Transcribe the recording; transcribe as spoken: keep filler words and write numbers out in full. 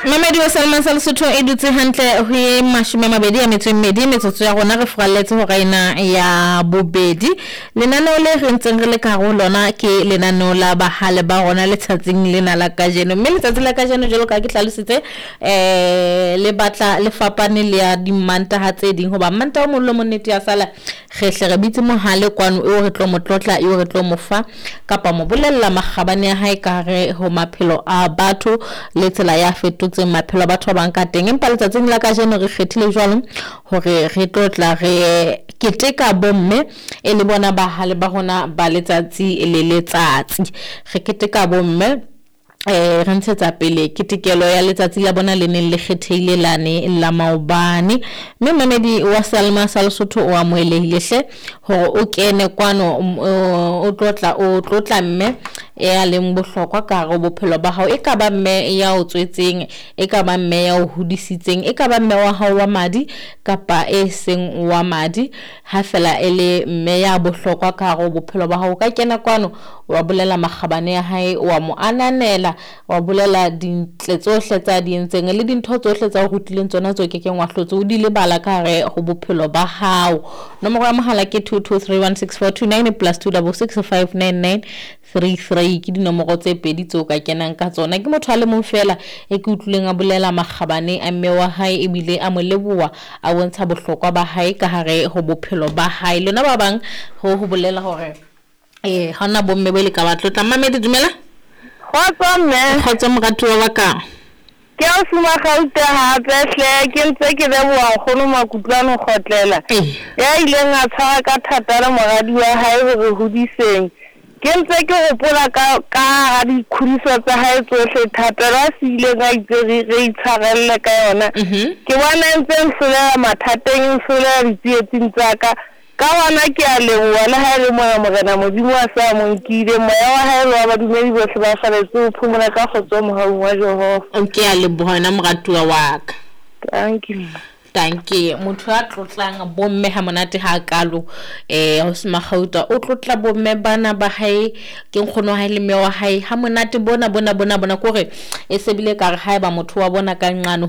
Mamedi wa Salma sa Lesotho e dutse hantle ho e mashome a mabedi a metso e mmedi metsotso ya rona re furalletse hora ena ya bobedi. Lenaneo le re ntseng re le ka hare ho lona ke lenaneo la bahale ba rona letsatsing lena la kajeno. Mme letsatsi la kajeno jwalo ka ha ke hlalositse eh le batla le fapane le ya dimantaha tse ding hoba Mantaha o mong le o mong nnete ya sala re hle re bitse mohale kwano eo re tlo mo tlotla eo re tlo mo fa kapa mo bolella makgabane a hae ka hare ho maphelo a batho le tsela ya fetotseng maphelo a batho ba bang ka teng. Empa letsatsing la kajeno re kgethile jwalo hore re tlo tla re keteka bomme e le bona bahale ba rona ba letsatsi le letsatsi. Re keteka bomme eh re ntshetsa pele ketekelo ya letsatsi la bona le neng le kgethehile lane la maobane. Mme mamedi wa Salma sa Lesotho o amohelehile hle hore o kene kwano o tlotla o tlotla mme ya leng bohlokwa ka hare ho bophelo ba hao. E ka ba mme ya o tswetseng, e ka ba mme ya o hodisitseng, e ka ba mme wa hao wa madi kapa e seng wa madi. Ha fela e le mme ya bohlokwa ka hare ho bophelo ba hao, o ka kena kwano wa bolela makgabane a hae, wa mo ananela, wa bolela dintle tsohle tsa di entseng le dintho tsohle tsa o rutileng tsona tseo kekeng wa hlotse o di lebala ka hare ho bophelo ba hao. Nomoro ya mohala ke two two three one six four two nine plus two double six five nine nine three three ke dinomoro tse pedi tseo ka kenang ka tsona. Ke motho a le mong feela e ke utlwileng a bolela makgabane a mme wa hae ebile a mo leboha, a bontsha bohlokwa ba hae ka hare ho bophelo ba hae. Lona ba bang ho ho bolela hore eh ha hona bomme bo le ka ba tlotla. Mamedi dumela. Kgotso mme. Kgotso moratuwa wa ka. Ke o suma Gauta hape hle ke ntse ke leboha nkgono Makutlwane Kgotlela. Ya ileng a tshwara ka thata le moradi wa hae hore hodiseng. Ke ntse ke hopola ka ka hara dikhudiso tsa hae tsohle thapelo a se ileng a itse re re itshwarelle ka yona. Ke bona e ntse nhlolela mathateng, e nhlolela ditsietsing tsa ka. Ka hona ke a leboha le ha e le mona Morena Modimo a sa mo nkile moya wa hae le wa badumedi bohle ba faletse ho phomola ka kgotso mohaung wa Jehova. Ke a leboha wena moratuwa wa ka. Thank you. Tanke motho a tlotlang bomme ha monate ha kalo eh ho se Magauta o tlotla bomme bana ba hae ke nkgono wa hae le mme wa hae ha monate bona bona bona bona kore e sebile ka re haeba motho wa bona ka nqane